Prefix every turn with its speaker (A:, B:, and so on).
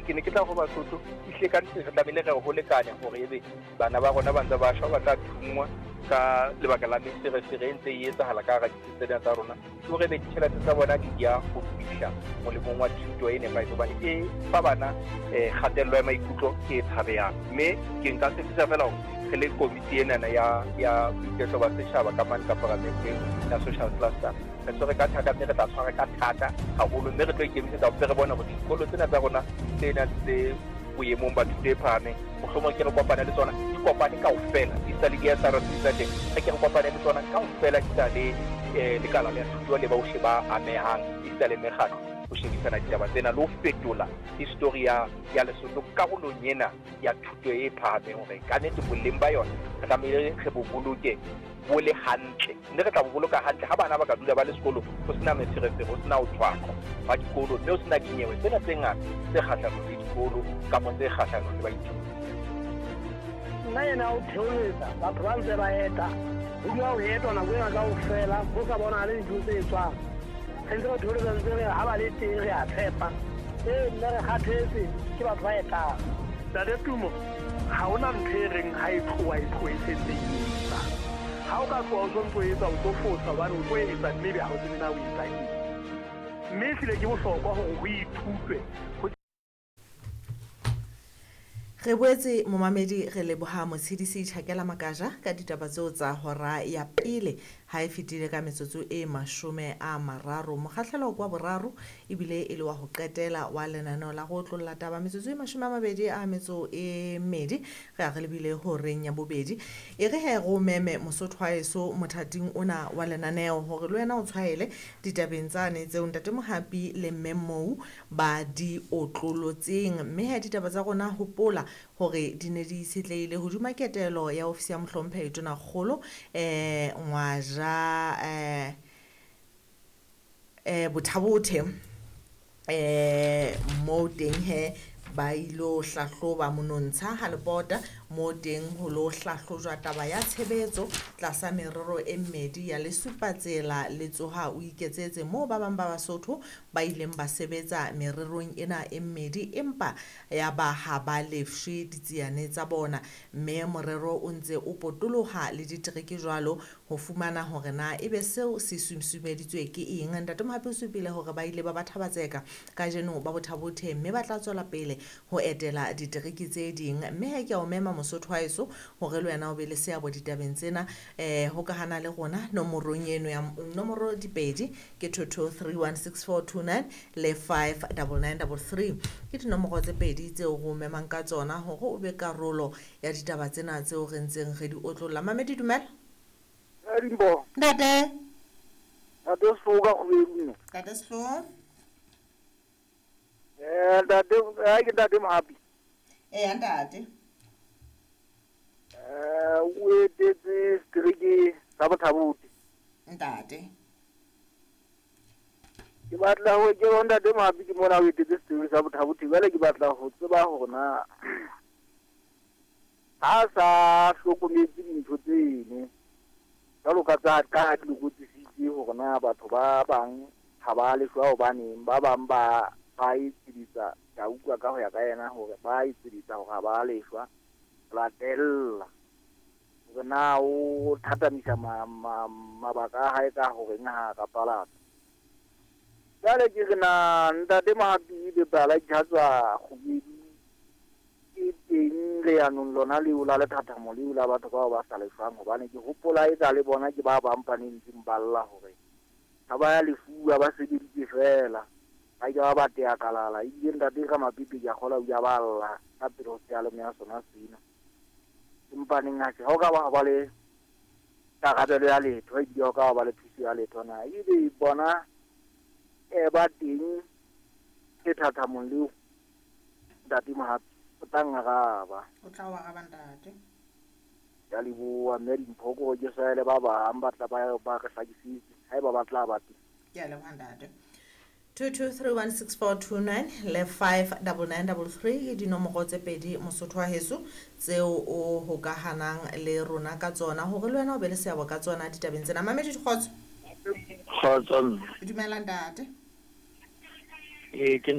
A: Ke ne ke tla ho Basotho, ehlile ka nnete re tlamehile re ho lekane hore ebe bana ba rona ba ntse ba shwa, ba tla thunngwa ka lebaka la meferefere e ntse e etsahala ka hara ditsi tsena tsa rona, ke hore ebe ditjhelete tsa bona di ya ho fihla molemong wa thuto e nepahetseng, hobane e fa bana kgatello ya maikutlo e tshabehang. Mme ke nka tshepisa fela hore re le komiti enana ya boiketlo ba setjhaba ka mane ka paramenteng ya social cluster, re tshwere ka thata mme re tla tshwara ka thata haholo, mme re tlo ikemisetsa hore re bone hore dikolo tsena tsa rona tse nang tse boemong ba thuto e phahameng, mohlomong ke re kopane le tsona, di kopane kaofela, di sa le di-S_R_C tsa teng, re ke re kopane le tsona kaofela, di sa le lekala la thuto le bohle ba amehang, esita le mekgatlo, ho shebisana ditaba tsena le ho fetola history ya Lesotho karolong ena ya thuto e phahameng, hore ka nnete boleng ba yona re tlamehile re bo boloke bo le hantle, mme re tla bo boloka hantle ha bana ba ka dula ba le sekolong, ho sena meferefere, ho sena ho tshwaqwa ba dikolo, mme ho sena dinyewe tsena tse ngata tse kgahlanong le dikolo kapa tse kgahlanong le baithuti.
B: Nna ena o theoletsa batho ba ntse ba eta, ho dula ho etwa nako ena kaofela, ho sa bonahale dintho tse etswang. Re ntse re theoletsa, ntse re ha ba le teng re a tshepa. Ee, mme re kgathetse ke batho ba etang. Ntate Tumo, ha hona ntho e reng ha e tloha e tloha e sentse e etsa. Ha o ka tloha o sontso etsa, o tlo fosa hobane o tlo etsa mme ebe ha o tsebe na o etsa eng. Mme ehlile ke bohlokwa hore ho ithutwe.
C: Re boetse momamedi re leboha Motshedisi Tjhakela Makaja ka ditaba tseo tsa hora ya pele ha e fetile ka metsotso e 30. Mokgahlelo kwa boraro ebile e le wa ho qetela wa lenaneo la go otlolla taba metsotso e 22 re a re lebile horeng ya bobedi. E re he ro meme Mosotho wa heso mothating ona wa lenaneo hore le wena o tshwaele ditabeng tsane tseo Ntate Mohapi le Mme Mou ba di otlolotseng. Mme he ditaba tsa rona hopola hore di ne di itshetlehile hodima ketelo ya ofisi ya mohlomphehi Tonakgolo Ngwaja Bothabothe moo teng he ba ilo hlahloba monontsha ha lepota moo teng ho lo hlahlojwa taba ya tshebetso tlasa merero e mmedi ya lesupatsela le tsoha o iketsetse, moo ba bang ba Basotho ba ileng ba sebetsa mererong ena e mmedi empa ya ba ha ba lefshwe ditsiane tsa bona, mme morero o ntse o potoloha le ditereke jwalo ho fumana hore na ebe seo se susumeditswe ke eng. Ntate Mohapi o supile hore ba ile ba ba thabatseka kajeno ba Bothabothe mme ba tla tswela pele ho etela ditereke tse ding. Mme he ke a o mema Mosotho wa heso hore le wena o be le seabo ditabeng tsena, hokahana le rona nomorong eno ya nomoro dipedi ke 22316429 le 59933, ke dinomoro tse pedi tseo re o memang ka tsona hore o be karolo ya ditaba tsena tseo re ntseng re di otlolla. Mamedi, dumela.
D: Dimbo.
C: Ntate.
D: Ntate Sehloho ka Kgubedu mme.
C: Ntate Sehloho.
D: Ntate, ha ke Ntate Mohapi.
C: Ntate.
D: O etetse setereke sa Bothabothe.
C: Ntate.
D: Ke batla ho ke ho Ntate Mohapi ke mona o etetse setereke sa Bothabothe, jwale ke batla ho tseba hore na ha sa hlokometse dintho tseno jwalo ka tsa ka di lokotsisitse hore na batho ba bang ha ba leshwa hobaneng, ba bang ba etseditsa, ka utlwa ka ho ya ka yena hore ba etseditsa hore ha ba leshwa, latella hore na o thathamisa mabaka a hae ka horeng ha ka palata. Jwale ke re na Ntate Mohapi le bala tswa Kgubedu ke teng leanong lona leo la lethathamo leo la batho bao ba sa lefang, hobane ke hopola eka le bona ke ba bang ba neng ba lla hore ha ba ya lefuwa ba sebeditse fela, ba ke ba ba tea kalala. Ebile Ntate ka Mapipi ke a kgola o ile a ba lla ka pele ho seyalemoya sona sena. Empa neng ha o ka ba ba le karabelo ya letho, ebile o ka ba le thuso ya letho na ebe bona ba teng lethathamong leo Ntate Mohapi o tla ngaraba.
C: O tla o araba Ntate.
D: Ya leboha mme Dimpho ko ke saele ba bang ba tla ba re hlakisitse haeba ba tla ba teng.
C: Ke a leboha Ntate. 22316429 le 59933 ke dinomoro tse pedi Mosotho wa heso tseo o hokahanang le rona ka tsona hore le wena o be le seabo ka tsona ditabeng tsena. Mamedi dikgotso.
E: Kgotso.
C: Dumela Ntate.
E: Ke